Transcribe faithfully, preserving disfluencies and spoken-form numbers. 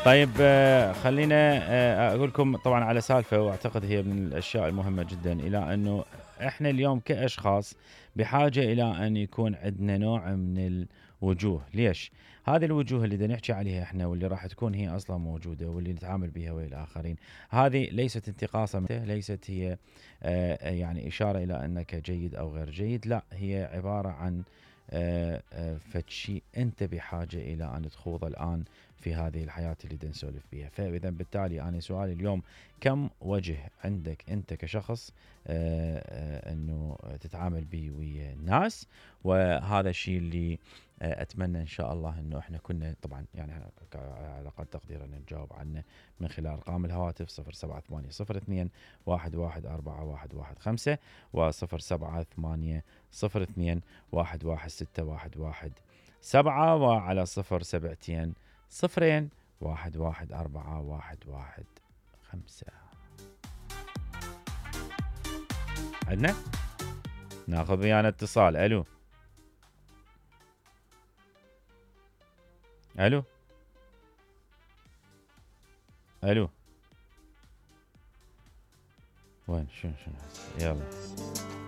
طيب آه، خلينا آه، اقول لكم طبعا على سالفه، واعتقد هي من الاشياء المهمه جدا، الى انه احنا اليوم كاشخاص بحاجه الى ان يكون عندنا نوع من الوجوه. ليش؟ هذه الوجوه اللي بدنا نحكي عليها احنا، واللي راح تكون هي اصلا موجوده، واللي نتعامل بها ويا الاخرين، هذه ليست انتقاصا، ليست هي آه، يعني اشاره الى انك جيد او غير جيد، لا، هي عباره عن آه، آه، فد شيء انت بحاجه الى ان تخوضه الان في هذه الحياة اللي بدنا نسولف بيها. فإذا بالتالي أنا سؤالي اليوم، كم وجه عندك أنت كشخص آه، آه، أنه تتعامل به ويا الناس؟ وهذا الشيء اللي آه، أتمنى إن شاء الله أنه إحنا كنا طبعا يعني على قد تقدير أن نجاوب عنه من خلال أرقام الهواتف صفر سبعة ثمانية صفر اثنين واحد واحد أربعة واحد واحد خمسة وصفر سبعة ثمانية صفر اثنين واحد واحد ستة واحد واحد سبعة، وعلى صفر سبعتين صفرين واحد واحد أربعة واحد واحد خمسة. عندنا ناخذ ويانا اتصال. الو الو الو، وين شنو شنو يلا